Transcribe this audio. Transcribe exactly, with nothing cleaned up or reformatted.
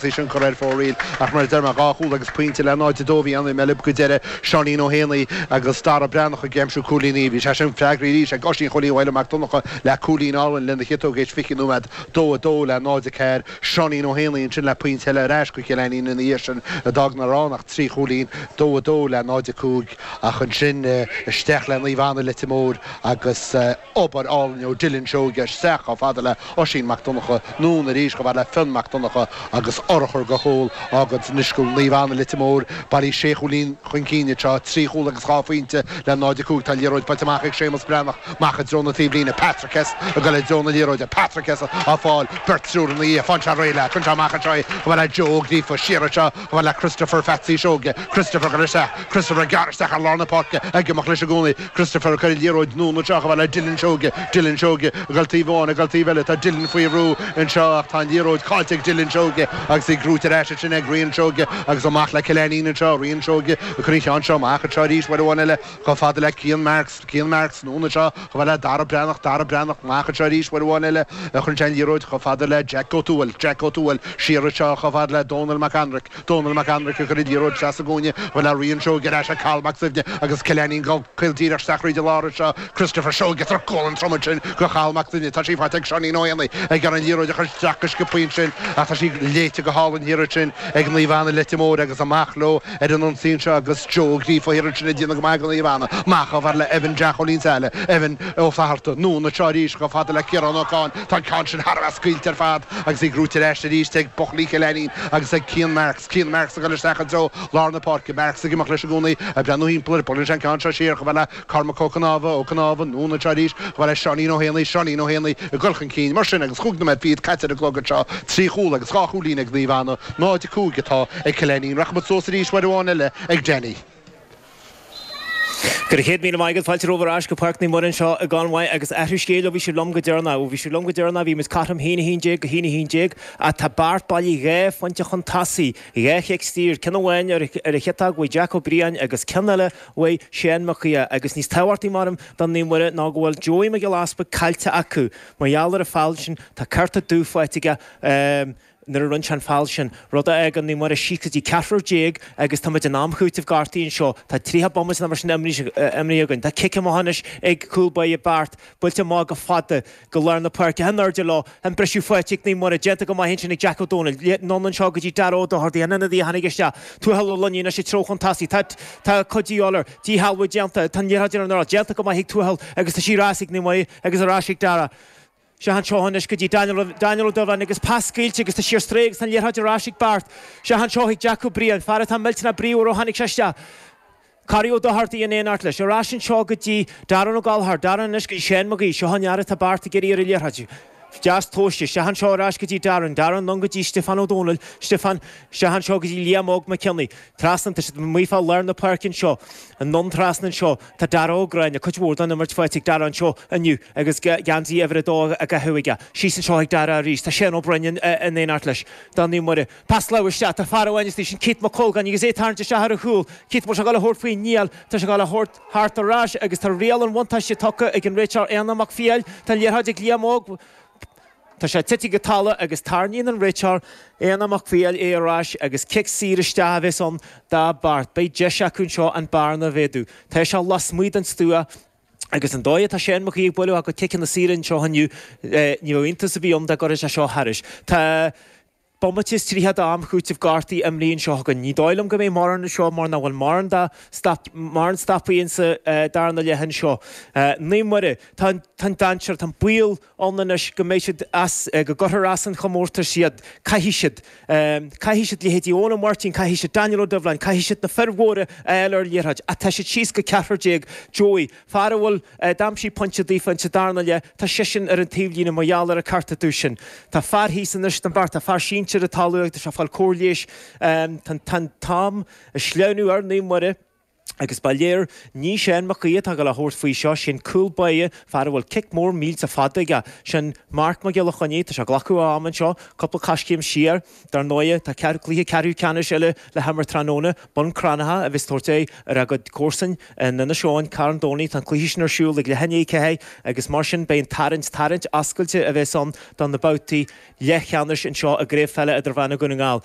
Sin cur ar fóraoil ach mar a deir mé dhá chúl agus pointe le náid a dó bhí ann i mBeilb go deireadh Seáinín Ó hÉanaí agus Dara Breathnach ag aimsiú cúilíní. Bhí sé sin freagraithe arís ag Oisín Chóilí Mhaidhc Mac Donncha le cúilín álainn lena chiotóg éis fiche nóiméad dó a dó le náid a ceathair. Seáinín Ó hÉanaí ansin le pointe eile ar ais go Cill Ainnín ina dhiaidh sin a d'fhág nach raibh ann ach trí chúilín, dó a dó le náid a cúig ach ansin isteach le Naomh Anna Leitir Móir agus obair álainn ó Dylan Seoige isteach chomh fada le Oisín Mac Donncha anonn arís chomh fada le Fionn Mac Donncha agus urchar de chúl agus anois go Naomh Anna Leitir Móir bailithe sé chúilín chun cinn anseo, trí chúl agus dhá phointe le náid a cúig. Tá an liathróid buailte amach ag Séamus Breathnach amach i dtreo na taobhlíne. Patrick Hess ag dul i dtreo na liathróide. Patrick Hess á fáil. Beirt triúr ina dhiaidh. Faigheann sé réidh léi. Cuireann sé amach anseo í chomh fada le Joe Ó Gríofa. Siar anseo chomh fada le Christopher Phatsy Seoige. Christopher ag dul isteach. Christopher ag gearradh isteach ar lár na páirce. Ag imeacht leis i gcónaí. Christopher ag cur an liathróid anonn anseo chomh fada le Dylan Seoige. Dylan Seoige ag dul taobh amháin, ag dul taobh eile. Tá Dylan faoi bhrú anseo ach tá an liathróid caillte ag Dylan Seoige agus í gnóite ar ais ansin ag Rian Seoige agus amach le Cill Ainnín anseo. Rian Seoige ag cur an cheann seo amach anseo arís uair amháin eile chomh fada le Cian Marks. Cian Marks anonn anseo chomh fada le Dara Breathnach. Dara Breathnach amach anseo arís uair amháin eile a chuireann sé an liathróid chomh fada le Jack Ó Tuathail. Jack Ó Tuathail siar anseo chomh fada le Dónal Mac Anraic. Dónal Mac Anraic ag cur an liathróid isteach sa gcúinne chomh fada le Rian Seoige ar ais ag Cathal Mac Suibhne agus Cill Ainnín ag dul caol díreach isteach thríd an lár anseo. Christopher Seoige trucail an trom ansin go Chathal Mac Suibhne. Tá sí faighte ag Seáinín Ó hÉanaí ag iarraidh an liathróid a chur isteach go sciobtha ansin ach tá sí léite go hálainn thiar ansin ag Naomh Anna Leitir Móir agus amach leo ar an ionsaí anseo agus Joe Ó Gríofa thiar ansin ag déanamh go maith do Naomh Anna. Amach chomh fada le Evan Jack Ó Lionsaile. Evan Ó Flatharta. Anonn anseo arís chomh fada le Ciarán Ó Cadhain. Tá an ceann sin thar a bheith scaoilte ar fad agus í gnóite ar ais arís ag buachaillí Chill Ainnín agus ag Cian Marks. Cian Marks ag dul isteach i dtreo lár na páirce. Marks ag imeacht leis i gcónaí, ag breathnú thimpeall air. Buaileann sé an ceann seo siar chomh fada le Cormac Ó Cnámha. Ó Cnámha anonn anseo arís chomh fada le Seáinín Ó hÉanaí. Seáinín Ó Héanaí ag dul chun cinn mar sin agus chúig nóiméad fichead caite ar an gclog anseo. Trí chúl agus dhá chúilín ag Naomh Anna. Náid a cúig atá ag Cill Ainnín. Rachaidh muid suas arís uair amháin eile ag Danny. Go raibh céad míle maith agat, fáilte romhaibh ar ais go Páirc Naomh Muire anseo i gConmhaigh agus athrú scéil ó bhí sibh liom go deireanach. Ó bhí sibh liom go deireanach bhí muid cothrom haon a haon déag go haon a haon déag ach tá Beart bailithe dhá phointe chun tosaigh, dhá chic saor, ceann amháin ar a chiotóg uaidh Jack Ó Briain agus ceann eile uaidh Seán Mac Aodha agus níos tábhachtaí measaim do Naomh Muire ná go bhfuil Joey Mac Giolla Easpaig caillte acu mar gheall ar an feall sin, tá cárta dubh faighte aige. nuair a rinne sé an feall sin, rud a fhágann Naomh Muire síos go dtí ceathrar déag agus tá muid in am chúitimh gortaithe anseo. Tá tríocha bomaite nó mar sin imrithe againn. Tá cic amach anois ag cúl báire Beart, buailte amach go fada go lár na páirce. In airde leo, an briseadh faighte ag Naomh Muire, déanta go maith ansin ag Jack Ó Dónaill. Anonn anseo go dtí Dara Ó Dochartaigh, an ionadaí a tháinig isteach. Tuathal Ó Luiní anois ag treo chun tosaigh. Tá tá cuid de dhíobháil air. Díshealbhú déanta. Tá an liathróid ar an urlár. Déanta go maith ag Tuathal agus tá sí ar ais ag Naomh Muire agus ar ais ag Dara. Isteach anseo anois go dtí Daniel, Daniel Ó Dubhláin agus pas scaoilte agus tá sí ar strae agus tá an liathróid ar ais ag Beart. Isteach anseo chuig Jack Ó Briain, fear atá millteanach bríomhar ó tháinig sé isteach. Corey Ó Dochartaigh in éineacht leis. Ar ais anseo go dtí Darren Ó Gallchóir. Darren anois go dtí Seán Mag Aoidh. Seo an fhear atá Beart ag iarraidh ar an liathróid. Deas tomhaiste. Isteach anseo ar ais go dtí Darren. Darren anonn go dtí Stiofán Ó Dónaill. Stiofán, isteach anseo go dtí Liam Óg Mac Cionnaith. Trasna, tá siad amuigh fá lár na páirce anseo. Anonn trasna anseo, tá Dara Ó Gráinne, cuid mhór den imirt faighte ag Dara anseo inniu agus geansaí uimhir a dó á chaitheamh aige. Síos anseo ag Dara arís, tá Shane Ó Broin in éineacht leis. Do Naomh Muire. Pas láimhe isteach, tá fear amháin istigh, sin Keith Mac Colgáin agus é ag tarraingt isteach ar a chúl. Keith, bhfuil sé ag dul a thabhairt faoin ngiall, tá sé ag dul a thabhairt thart ar ais agus tá riail an bhuntáiste tugtha ag an réiteoir Éanna Mac Fiail. Tá an liathróid ag Liam Óg. Tá sé tite go talamh agus tarraingíonn an réiteoir, Éanna Mac Fiail, é ar ais agus cic saor isteach a bheas ann do Beart. Beidh deis acu anseo an bearna a mhéadú. Tá sé lasmuigh den stua agus an dóigh atá Seán Mac Aoidh ag bualadh a chuid ciceanna saora anseo inniu, ní bheadh iontas ar bith ann dá gcuirfeadh sé seo thairis. Tá bomaite is tríocha d'am chúitimh gortaithe imrithe anseo againn. Ní dóigh liom go mbeidh mórán anseo mar nach bhfuil mórán de stop, mórán stopaí insa darna leath anseo. Naomh Muire, tá an, tá an dainséar, tá an baol ann anois go mbeidh siad as, go gcuirfear as an chomórtas iad. Caithfidh siad, caithfidh siad leithéidí Eoin Ó Máirtín, caithfidh siad Daniel Ó Doibhleáin, caithfidh siad na fir mhóra a fháil ar liathróid. Ach tá siad síos go ceathrar déag. Joey, fear a bhfuil, d'aimsigh pointe daofa insa darna leath, tá seisean ar an taobhlíne mar gheall ar an cárta dubh sin. Tá fear thíos anois don Beart, tá fear sinsir ar an talamh agus tá sé ag fáil cóir leighis. Tá an t-am ag sleamhnú ar Naomh Muire. Agus ba léir ní Seán Mac Aoidh atá le thabhairt faoi seo sin cúl báire fear a bhfuil cic mór mílte fada aige sin Marc Mac Giolla Chainnigh tá sé glacadh am anseo cúpla coiscéim siar dar ndóigh tá cluiche ceathrú ceannais eile le himirt tráthnóna Bun Cranncha a bheas ag tabhairt aghaidh ar a gcuid comharsan in Inis Eoghain Carn Domhnach tá an cluiche sin ar siúl ag leath i ndiaidh a ceathair agus mar sin beidh an tarraingt tarraingt oscailte a bheas ann do na babhtaí leathcheannais anseo i gCraobh Pheile Idirmheánach Dhún na nGall.